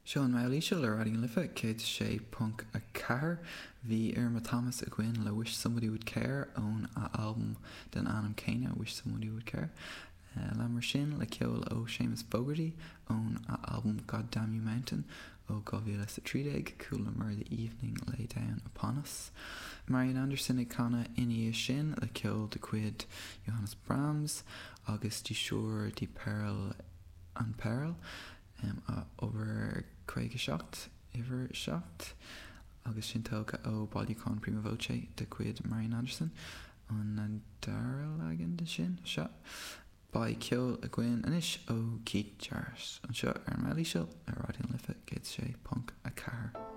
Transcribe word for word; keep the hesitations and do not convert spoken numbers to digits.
Seo an Meall Íseal ar Raidió na Life céad sé ponc a ceathair. Bhí Irma Thomas againn le Wish Somebody Would Care ón a albam den ainm céanna Wish Somebody Would Care. Uh, leanamar sin le ceol ó Seamus Fogarty ón a albam God Damn You Mountain ó dhá mhíle a trí déag chualamar The Evening Lay Down Upon Us. Marian Anderson ag canadh ina dhiaidh sin le ceol de chuid Johannes Brahms agus Die Schür die Perl an Perl um, a obair caoga seacht uimhir seacht agus sin tógtha ó bailiúchán Prima Voce de chuid Marian Anderson an an dara leagan de sin seo. Beidh ceol againn anois ó Keith Jarrett anseo ar an Meall Íseal ar Raidió na Life céad sé ponc a ceathair.